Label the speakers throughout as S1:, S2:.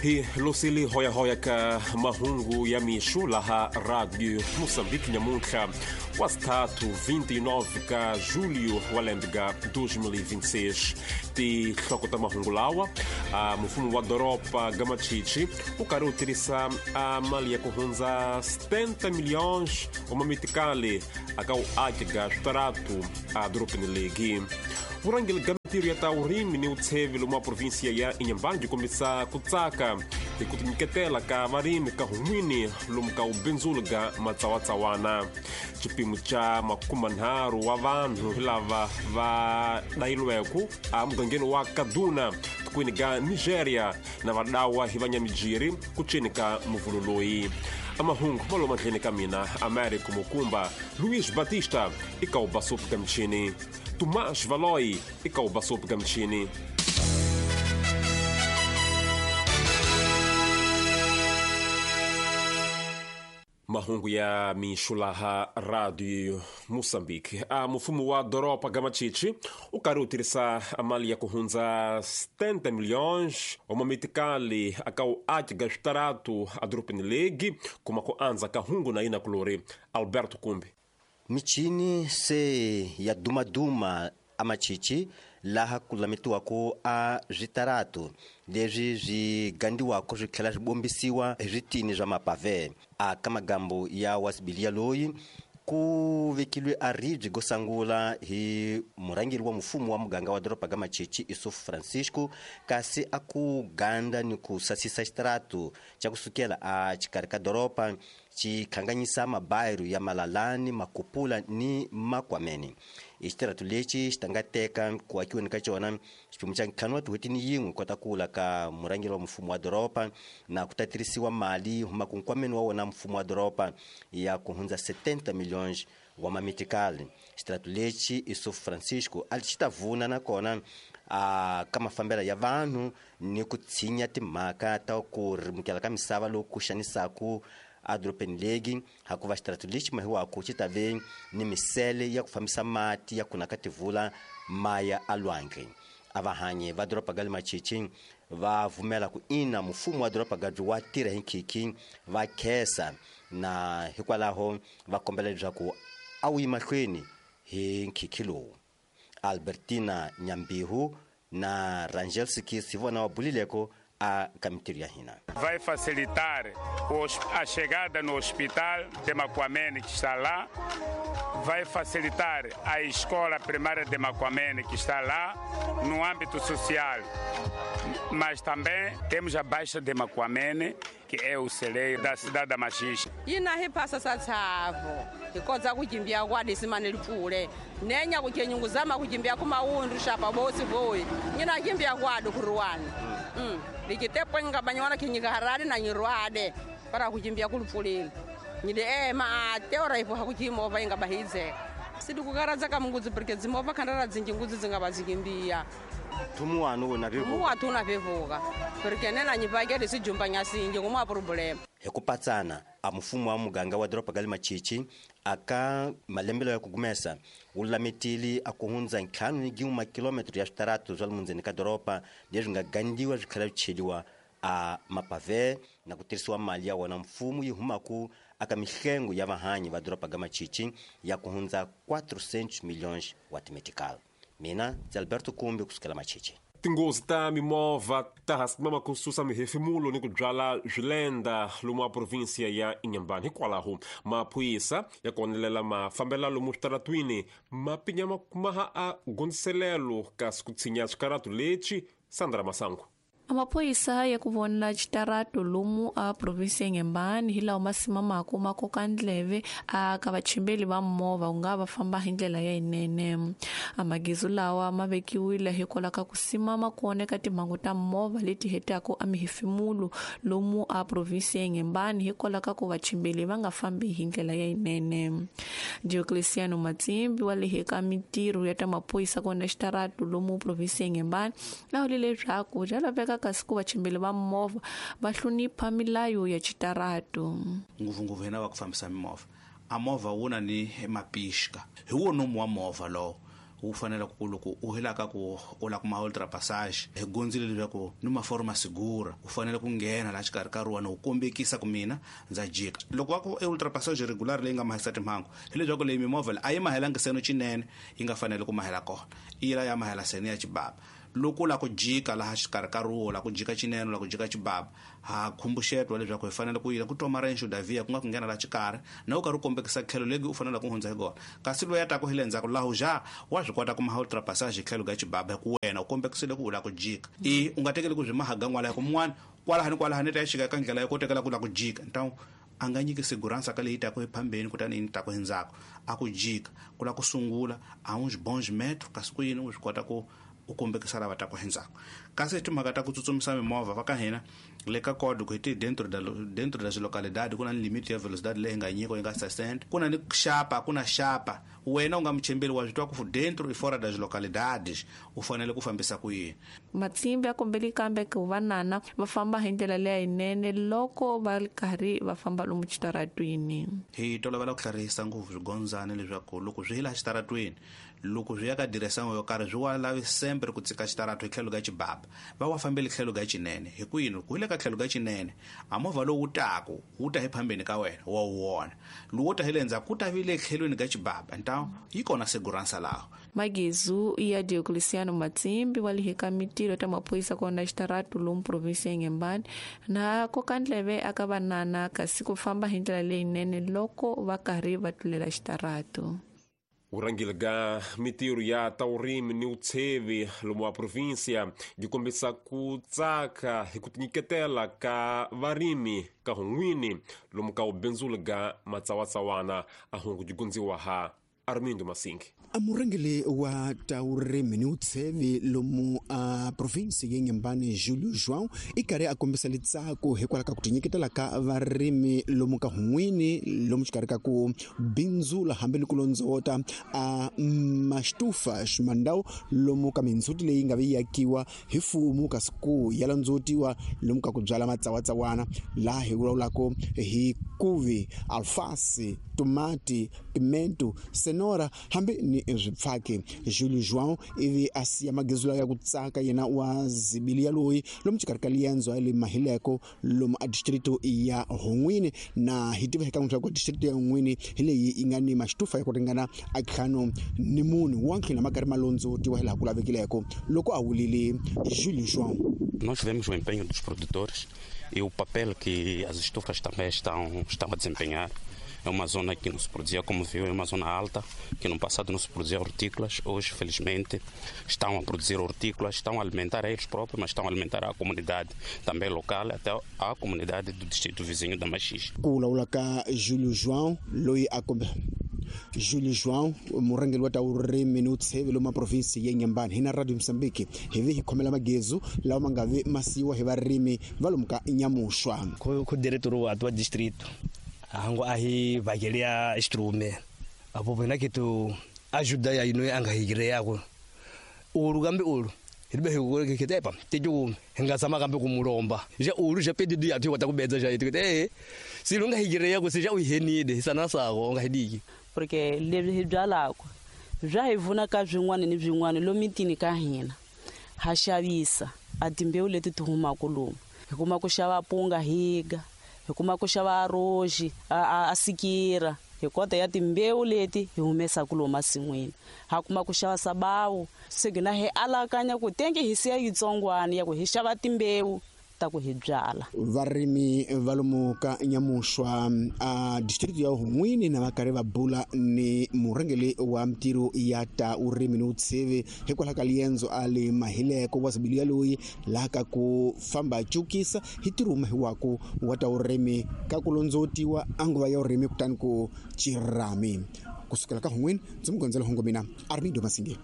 S1: Hi losili hoyahoya ka mahungu ya mixo laha Radio Moçambique nyamuntlha wa sithathu 29 ka julho wa lembe ga 2026. Tinhloko ta mahungu lawa: a mfumo wa doroba ga Machichi wu karhi wu tirhisa a mali ya ku hundza 70 milhões wa mamitikali aka wuaki ga switaratu a dorobeni legi. Vurhangeri ga mintirho ya ta vurimi ni vutshevi lomu wa provinsia ya Inhambane byi kombisa ku tsaka hi ku tinyiketela ka varimi ka hun'wini lomu ka vubindzuli ga matsawatsawana. Xipimo xa 30 wa vanhu lava va dayilweke emugangeni wa Kaduna tikweni ga Nigeria na va dawa hi vanyamijiri ku ceni ka muvulu loyi. Amahungu ma lomu mandleni ka mina Américo Mukumba. Luiz Batista i ka wu ka michini, Tomás Valoi i ka wu ka michini. Mahungu ya mixo laha Radio Moçambique. A mfumo wa doroba ga Machichi wu karhi wu tirhisa mali ya ku hundza 70 milhões wa mamitikali aka wuaki ga switaratu edorobeni legi kuma ku andza ka hungu na yina kulori. Alberto Kumbi.
S2: Michini se ya dumaduma amachichi laha ku lametiwaka a switaratu leswi swi gandiwaka swi tlhela swi bombisiwa hi switini swa mapave. A ka magambo ya wasibiliya loyi ku vekilwe a ribye go sangula hi murhangeri wa mfumo wa muganga wa doroba ga Machichi Isuf Francisco, kasi a ku ganda ni ku sasisa xitaratu xa kusukela a xikarhi ka doroba xi khanganyisa mabayiro ya Malalani, Makupula ni Makwameni. I xitaratu lexi xi ta nga teka ku akiweni ka xona xiphemu xa 5 wa tin'hweti ni yin'we kota kula ka murhangeri wa mfumo wa doroba, na ku ta tirhisiwa mali humaka nkwameni wa wona mfumo wa doroba ya ku hundza 70 milhões wa mamitikali. Xitaratu lexi Isuf Francisco a xi ta vuna nakona a ka mafambelo ya vanhu ni ku tshinya timhaka ta ku rimukela ka misava loku ku xanisaku edorobeni legi, hakuva xitaratu lexi mahiwaku xi ta ve ni misele ya ku fambisa mati ya ku naka tivula maya alwandle. A vahanyi va doroba ga le Machichi va vumela ku ina mfumo wa doroba ga wa tirha hi nkhikhi, va khesa na hikwalaho va kombela leswaku a wu yi mahlweni hi nkhikhi lowu. Albertina Nyambihu na Rangel Sikis hi vona va bulileko a ka mintirho ya hina.
S3: Vai facilitar a chegada no hospital de Macuamene, que está lá, vai facilitar a escola primária de Macuamene, que está lá, no âmbito social. Mas também temos a Baixa de Macuamene, que é o celeiro da cidade da Machixe.
S4: Yina hi phasa sa tshavo hi kotsa ku kimbia kwadi simane lipfule nenya ku kenyunguzama ku kimbia ku mawundu xapa bosi boyi nyina kimbia kwadi ku ruwani likitepo nga banywana kinyika harari na nyirwade para ku kimbia ku lipfuleni nyide ema ate ora ipo ha ku kimova inga bahize sidi ku karadza ka mungudzi porque dzimova khandara dzinji ngudzi dzinga bazikimbia
S2: tumuwanu wona vevuka
S4: muwatu na vevuka porque nena nyivakele sijumba nyasinje nguma problem.
S2: Hi ku patsana a mfumo wa muganga wa doroba ga le Machichi aka malembelo ya ku gumesa wu lametile a ku hundza 5 makilometro ya switaratu swa le mundzeni ka doroba leswi nga gandiwa swi tlhela swi cheliwa a mapave na ku tirhisiwa mali ya wona mfumo yi humaku aka mihlengo ya vahanyi va doroba ga Machichi ya ku hundza 400 milhões wa timetical. Mina ndzi Alberto Kumbi kusukela Machichi.
S1: Tinghozi ta mimovha ta hasimama ku susa mihefemulo ni ku byala swilenda lomu wa provinsia ya Inhambane. Hikwalaho maphorisa ya konelela mafambela lomu switaratwini ma pinya makumaha a gondziselelo kasi ku tshinya swikaratu lexi. Sandra Masangu.
S5: Amaphoyisa ya ku vona xitarato lomu a provinsi ya Inhambane hi lawa ma simamaka ma koka ndleve a ka vachimbeli va movha ku nga va famba hi ndlela ya yinene. Amagizu lawa ma vekiwile hikwalaho ka ku simama ku oneka timhangu ta movha leti hetaka a mihefemulo lomu a provinsi ya Inhambane hikwalaho ka ku vachimbeli va nga fambi hi ndlela ya yinene. Diocleciano Matsimbi wa le ka mintirho ya ta maphorisa ku vona xitarato lomu provinsi ya Inhambane laha leswaku bya laveka kasi ku vachimbeli va movha va hlonipha milayo ya xitarato.
S6: Ngopfungopfu hina va ku fambisa mimovha, a movha wu na ni mapixka hi wo nomu wa movha lowo Wu fanele ku loko u helaka ku u la kuma ultrapassage hi gondzile leswaku ni maforma segura u fanele ku nghena laha xikarhi ka ruwa u kombekisa ku mina ndza jika. Loko va ku ultrapassage regular leyi nga mahisa timhangu hileswaku leyi mimovha a yi mahelangi seno cinene yi nga fanele ku mahela kona, yi la ya mahela seno ya xibaba. Loko la ku jika laha xikarhi ka ruwa la ku jika cinene la ku jika xibaba, ha khumbuxetwa leswaku hi fanele ku yila ku toma renxo davia ku nga ku nghena laha xikarhi na u karhi u kombekisa tlhelo legi u fanele ku hundza hi kona. Kasi loyi a taku hi le ndzhaku laha ja wa swi kota ku maha ultrapassage tlhelo ga xibaba hi ku wena u kombekisile ku u la ku jika. I u nga tekeli ku byi mahaga n'wala hi ku mun'wana kwalahani kwalahani ta ya xika ka ndlela yo kotekela ku la ku jika, ntawu a nga nyiki segurança ka leyi taku ephambeni kutani yi taku endzhaku a ku jika ku la ku sungula a uns bons metros kasi ku yini u swi kota ku u kombekisa lava taku endzhaku. Kasi timhaka ta ku tsutsumisa mimovha va ka hina le ka code ku hi ti dentro das localidade ku na ni limite ya velocidade leyi nga nyiko yi nga 60, ku na ni xapa ku na xapa wena u nga muchembeli wa swi twa ku dentro e fora das localidades u fanele ku fambisa ku yini.
S5: Matsimbi ya kombeli kambe ku vanana va famba hi ndlela leyinene loko va ri karhi va famba lomu xitaratwini.
S6: Hi tolovela ku tlharihisa ngopfu swigondzani leswaku loko swi hila xitaratwini loko swi ya ka diresango yo karhi swi wa lavi sempre ku tsika xitarato hi tlhelo ka xibaba, va wa fambeli tlhelo ka cinene. Hi ku yini ku hi le ka tlhelo ka cinene a movha lowu wu taku wu ta hi phambeni ka wena wa wu vona, lowu ta hi le ndzhaku ku ta vi le tlhelweni ka xibaba, ntawu yi kona segurança laho.
S5: Magezu ya Diocleciano Matsimbi wa lihika mitiro ta maphorisa kona xitarato lomu provinsi ya Inhambane na koka ndleve aka vanana kasi ku famba hi ndlela leyinene loko va karhi va tlulela xitarato.
S1: Urangile ga mitiro ya taurimi ni utsevi lomu wa província yi kombisa ku tsaka hi ku tinyiketela ka varimi ka hun'wini lomu ka ubindzula ga matsawatsawana a hungu jigundziwa ha Armindo Masingi.
S7: A murhangeri wa taurimi ni utsevi lomu a provinsi ya Inhambane Julio João i karhi a kombisa litsako hikwalaho ka ku tinyiketela ka varimi lomu ka hun'wini lomu xikarhi ka ku bindzula hambi ni ku londzota a maxitufa ximandau lomu ka mindzhuti leyi nga vi yakiwa hi mfumo kasi ku ya londzootiwa lomu ka ku byala matsawatsawana laha hi vulavulaka hi kuvi, alfasi, tomati, pimento, senora hambi ni swipfaki. Julio João ivi a siya magezu ya ku tsaka yena wa zibilia loyi lomu xikarhi ka liendzo ya le Mahileko lomu a distrito ya Hun'wini na hi tiva eka leswaku distrito ya Hun'wini hi leyi yi nga ni maxitufa ya ku ringana a 54 wa ntlhela ma karhi ma londzootiwa hi laha ku lavekileko loko a wulile Julio João.
S8: Nós vemos o empenho dos produtores e o papel que as estufas também estão a desempenhar. É uma zona que não se produzia, como viu, é uma zona alta, que no passado não se produzia hortícolas. Hoje, felizmente, estão a produzir hortícolas, estão a alimentar eles próprios, mas estão a alimentar a comunidade também local, até a comunidade do distrito vizinho da Machis.
S7: Ku vulavula ka Julio João loyi a Julio João murhangeri wa ta vurimi ni utsevi lomu provinsi ya Inhambane hi na Radio Mozambique hi vi hi khomela magezu lawa ma nga vi masiwa hi varimi va lomu ka Nyamuxwa.
S9: Ku diretor wa distrito hango ahi vakelia instrume apo pena kitu ajuda ya ino anga higire yako ulu gambe ulu ribe higure kitepa teju ngazama gambe kumulomba ja ulu ja pedido ya tu watakubedza ja itu silunga higire yako sija uhenide sana sako ngahidiki
S4: porque leswi hi byalaka bya hi vuna ka swin'wana ni swin'wana lomitini ka hina ha xavisa a timbewu leti ti humaka lomu hi kuma ku xava punga higa hi kuma ku xava roji a sikira hi kota ya timbewu leti hi humesaka lomu masin'wini ha kuma ku xava sabawu se gina hi alakanya ku tenge hi siya yitsongwana ya ku hi xava timbewu ta ku hi byala.
S7: Varimi va lomu ka Nyamuxwa a distrito ya Hun'wini na va karhi va bula ni murhangeri wa mitirho ya ta vurimi ni vutsheve hikwalaho ka liendzo a le Mahileko wa zibilia loyi laha ka ku famba cukisa hi tirhuma hi waku wa ta vurimi ka ku londzootiwa a nguva ya vurimi kutani ku cirami kusukela ka Hun'wini ndzi mugondzela hungu mina Armindo Masingi.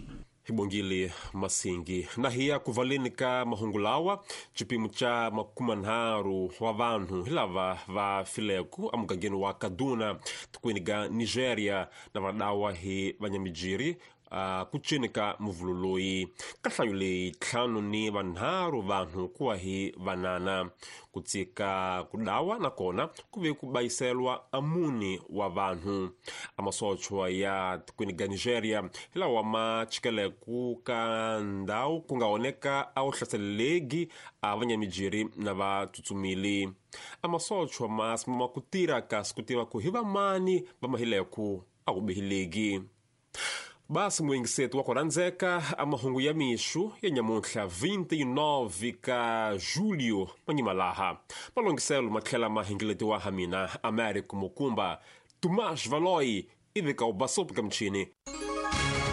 S1: Hibongile Masingi. Na hiya kuvaleni ka mahungu lawa chipimo cha 30 wa vanhu hi lava va fileku amugangeni wa Kaduna tikweni ga Nigeria na vadawa hi vanyamijiri ku cini ka muvulu loyi ka nhlayo leyi 53 vanhu kuwa hi vanana. Ku tsika ku dawa nakona ku ve ku bayiselwa a mune wa vanhu. Amasochwa ya tikweni ga Nigeria hi lawa ma chikeleku ka ndhawu ku nga oneka a wu hlaselelegi a vanyamijiri na vatsutsumili. Amasochwa ma simama ku tirha kasi ku tiva ku hi vamani va mahileku a ku bihilegi. Basi muyingiseti wa ku rhandzeka, a mahungu ya mixu ya nyamuntlha 29 ka julio manyimalaha malongiselo ma tlhela ma hingeletiwa ha mina Americo Mukumba. Tomas Valoy ivi ka u basopi ka michini.